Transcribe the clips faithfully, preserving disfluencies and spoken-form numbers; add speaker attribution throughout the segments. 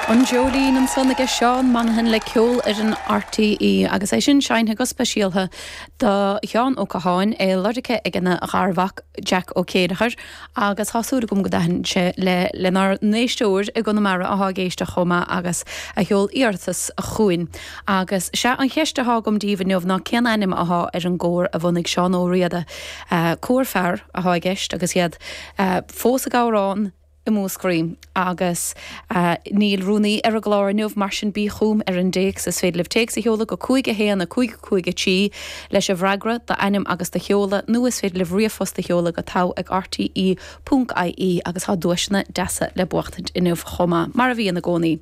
Speaker 1: An Dreoilín ansan aige Seán Monaghan le Ceolfhoireann RTÉ agus é sin seinnte go speisialta do Sheán Ó Catháin é lorgtha ag a gharmhac Jack Ó Céideachar agus tá súil agam go dtaitníonn sé le lenár n-éisteoir i gConamara atá ag éisteacht chomh maith agus a sheol iarratas chugainn. Agus sé an cheist atá agam daoibh inniu ná cén ainm atá ar an gcór a bhunaigh Seán Ó Riada. Cór fear atá i gceist agus iad fós ag amhrán i Múscraí agus uh, níl rúnaí ar an gclár inniu mar sin bí chugam ar an dtéacs is féidir libh téacs a sheoladh go cúig a haon a cúig cúig a trí leis an bhfreagra d'ainm agus do sheoladh nó is féidir libh ríomhphost a sheoladh go togha ag RTE ponc IE agus tá duaiseanna deasa le buachtaint inniu chomh maith mar a bhíonn i gcónaí.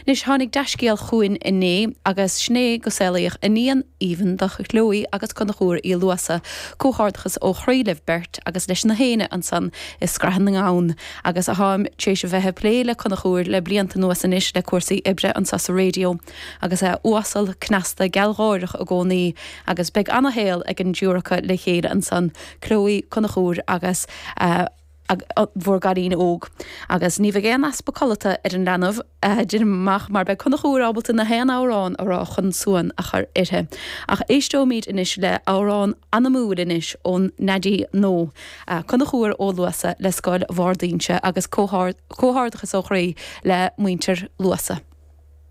Speaker 1: Anois tháinig dea-scéal chugainn inné agus sin é go saolaíodh iníon aoibhinn do Chloe agus Conchúr Uí Luasa, comhghairdeachas ó chroí libh beirt agus leis na héinne ansan i Scraith na nGamhan agus a tháim tar éis a bheith ag plé le Conchúr le blianta anuas anois le cúrsaí oibre anseo sa raidió, agus é uasal cneasta gealgháireach i gcónaí agus beidh an-shaol ag an dtriúr acu le chéile ansan Chloe Conchúr agus uh, bhur gcailín óg. Agus ní bheidh aon easpa codlata ar an leanbh deirim mar beidh Conchúr ábalta na haon amhrán a rá chun suan a chur uirthi. Ach éisteoimid anois le amhrán anamúil anois ón Neidí nó Conchúr Ó Luasa le Scoil Bharr d'Inse agus comhghairdeachas ó chroí le muintir Luasa.